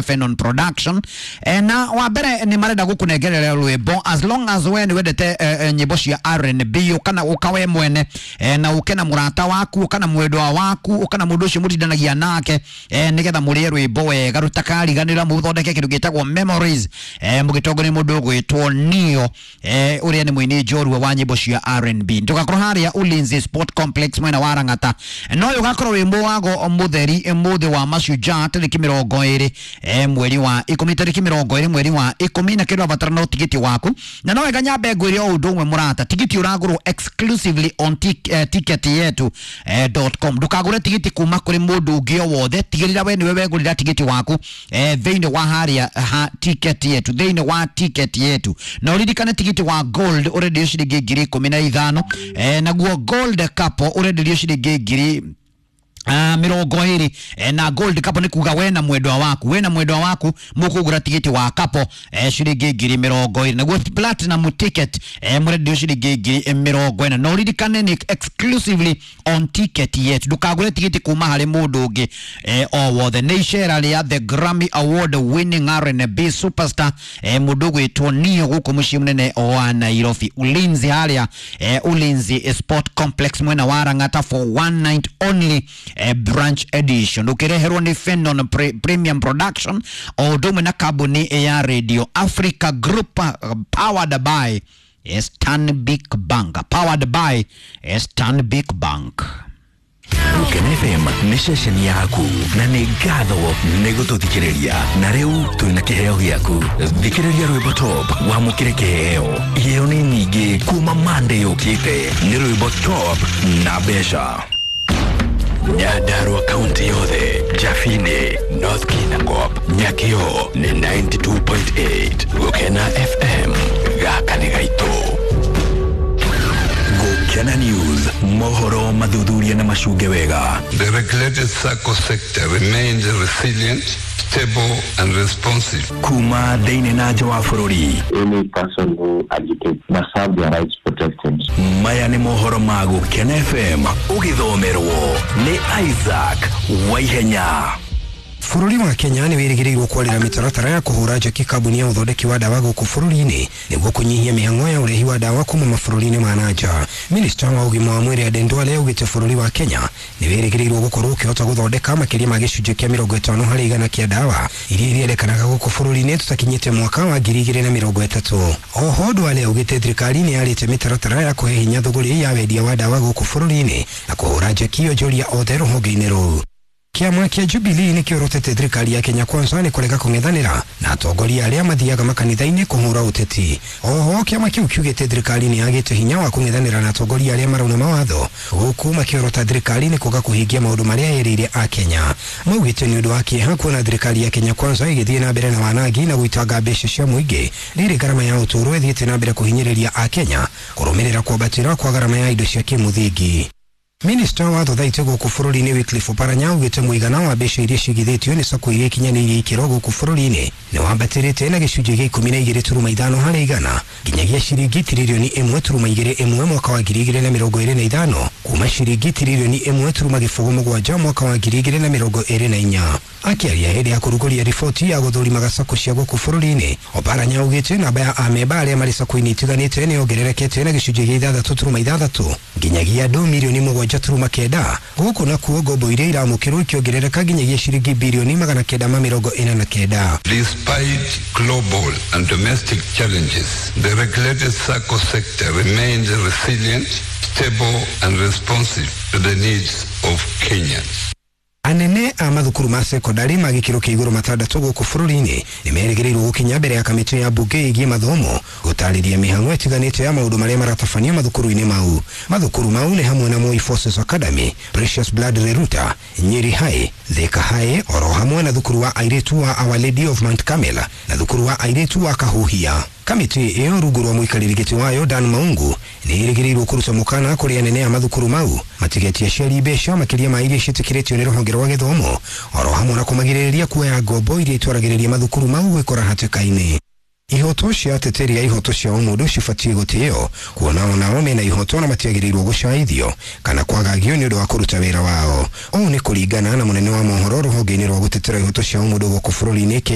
Fenon Production na wa mbere nĩ marenda gũkũnengerera rwĩmbo as long as we nĩ wendete nyĩmbo cia R&B ũkana ũka we mwene na ũke na mũrata waku ũka na mwendwa waku ũka na mũndũ ũcio mũtindanagia nake nĩgetha mũrĩe rwĩmbo wega rũtakariganĩra mũthondeke kĩndũ gĩtagwo memories mũgĩtongoria mũndũ ũgwĩtwo Neo ũrĩa nĩ mũini njorua wa nyĩmbo cia R&B. Tũgakorwo harĩa Ulinzi Sport Complex mwena wa Lang'ata no ũyũ ũgakorwo wĩ mũwago mũtheri mũthĩ wa mashujaa tarĩki 20 mweri wa 10 tarĩki 20 mweri wa 10 na kĩndũ abatara no tigiti waku na no wega nyambe ngwĩre o ũndũ ũmwe mũrata, tigiti ũragũrwo exclusively on ticket yetu .com. Ndũkagũre tigiti kuma kũrĩ mũndũ ũngĩ o wothe, tigĩrĩra we nĩwe wegũrĩra tigiti waku thĩinĩ wa harĩa ha ticket yetu, thĩinĩ wa ticket yetu. Na ũririkane tigiti wa gold ũrenderio ciringi 15,000, naguo gold couple ũrenderio ciringi 20,000, na gold couple nĩ kuga we na mwendwa waku, we na mwendwa waku mũkũgũra tigiti wa couple ciringi 20,000, naguo platinum ticket mũrenderio ciringi 40,000. Na ũririkane nĩ exclusively on ticket yetu, ndũkagũre tigiti kuma harĩ mũndũ ũngĩ o wothe. Nĩ icera rĩa the Grammy Award winning R&B superstar mũndũ ũgwĩtwo Neo gũkũ mũciĩ mũnene wa Nairobi, Ulinzi harĩa Ulinzi Sport Complex mwena wa Lang'ata for one night only branch edition, ukireherwo ni Fenon Premium Production o ũndũ ũmwe na kambuni ya Radio Africa Group, powered by Stanbic Bank, powered by Stanbic Bank. Gũkena FM nĩ ceceni yaku na nĩ ngatho nĩ gũtũthikĩrĩria na rĩu twĩna kĩheo gĩaku. Thikĩrĩria rwĩmbo top wamũkĩre kĩheo. Iheo nĩ nyingĩ kuma Monday yũkĩte nĩ rwĩmbo top na mbeca. Nyandarua kaunti yothe, Jafini, North Kinangop, Nyakio nĩ 92.8. Gũkena FM gaka nĩ gaitũ. Gũkena News, mohoro mathuthuria na macunge wega. The regulated SACCO sector remains resilient, stable and responsive. Kuma thĩinĩ na nja wa bũrũri. Any person who agitates must have their rights protected. Maya nĩ mohoro ma Gũkena FM ũgĩthomerwo nĩ Isaac Waihenya. Bũrũri wa Kenya nĩ wĩrĩgĩrĩirwo kwarĩra mĩtaratara ya kũhũra njeki kambuni ya ũthondeki wa ndawa gũkũ bũrũri-inĩ nĩguo kũnyihia mĩhang'o ya ũrehi wa ndawa kuma mabũrũri-inĩ ma na nja. Minista wa ũgima wa mwĩrĩ Aden Duale augĩte bũrũri wa Kenya nĩ wĩrĩgĩrĩirwo gũkorwo ũkĩhota gũthondeka makĩria ma gĩcunjĩ kĩa 50% kĩa ndawa iria irĩendekanaga gũkũ bũrũri-inĩ tũtakinyĩte mwaka wa 2030. Oho Duale augĩte thirikari nĩ yarĩte mĩtaratara ya kũhe hinya thũgũrĩ ya wendia wa ndawa gũkũ bũrũri-inĩ na kũhũra njeki onjoria othe rũhonge-inĩ rũu. Kĩama kĩa Jubilee nĩ kĩorotete thirikari ya Kenya Kwanza nĩ kũrega kũng'ethanĩra na atongoria arĩa mathiaga makanitha-inĩ kũhũra ũteti. Oho kĩama kĩu kiugĩte thirikari nĩ yagĩte hinya wa kũng'ethanĩra na atongoria arĩa marauna mawatho gũkũ makĩorota thirikari nĩ kwaga kũhingia maũndũ marĩa yerĩire a Kenya. Maugĩte nĩ ũndũ wa kĩeha kuona thirikari ya Kenya Kwanza ĩgĩthiĩ na mbere na wanangi na gũitanga mbeca cia mũingĩ rĩrĩ ngarama ya ũtũũro ĩthiĩte na mbere kũhinyĩrĩria a Kenya kũrũmĩrĩra kwambatĩra kwa ngarama ya indo cia kĩmũthingi. Minista wa thothaitĩ gũkũ bũrũri-inĩ Wycliffe Oparanya augĩte mũigana wa mbeca iria cigithĩtio nĩ sacco iria ikinyanĩirie ikĩro gũkũ bũrũri-inĩ nĩ wambatĩrĩte na gĩcunjĩ gĩa 12.5 harĩ igana nginyagia ciringi tiririoni 1.21 mwaka wa 2025 kuma ciringi tiririoni 1.07 mwaka wa 2024. Akĩaria hĩndĩ ya kũrugũria riboti ya gũthũrimaga sacco cia gũkũ bũrũri-inĩ, Oparanya augĩte namba ya amemba arĩa marĩ sacco-inĩ itiganĩte nĩ yongererekete na gĩcunjĩ gĩa 6.6 nginyagia andũ mirioni 7.9 gũkũ nakuo ngombo iria iramũkĩrwo ikĩongerereka nginyagia ciringi birioni 949. Despite global and domestic challenges, the regulated SACCO sector remains resilient, stable and responsive to the needs of Kenyans. Anene a mathukuru ma sekondari ma gĩkĩro kĩa igũrũ matandatũ gũkũ bũrũri-inĩ nĩ merĩgĩrĩirwo gũkinya mbere ya kamĩtĩ ya mbunge ĩgiĩ mathomo gũtarĩria mĩhang'o ĩtiganĩte ya maũndũ marĩa maratabanio mathukuru-inĩ mau. Mathukuru mau nĩ hamwe na Moi Forces Academy, Precious Blood Reruta, Nyeri High, Thika High, oro hamwe na thukuru wa airĩtu wa Our Lady of Mount Carmel na thukuru wa airĩtu wa Kahuhia. Kamĩtĩ ĩyo rungu rwa mũikarĩri gĩtĩ wayo Dan Maungu nĩ ĩrĩgĩrĩirwo kũruta mũkana kũrĩ anene a mathukuru mau matigetie aciari mbeca makĩria ma iria ciĩtĩkĩrĩtio nĩ rũhonge rwa gĩthomo oro hamwe na kũmagirĩrĩria kuoya ngombo iria itwaragĩrĩria mathukuru mau gwĩkora hatĩka-inĩ. Ihoto cia ateteri a ihoto cia ũmũndũ cibatiĩ gũtĩo kuona onao mena ihoto na matiagĩrĩirwo gũcaithio kana kwagagio nĩ ũndũ wa kũruta wĩra wao. Ũũ nĩ kũringana na mũnene wa mohoro rũhonge-inĩ rwa gũtetera ihoto cia ũmũndũ gũkũ bũrũri-inĩ.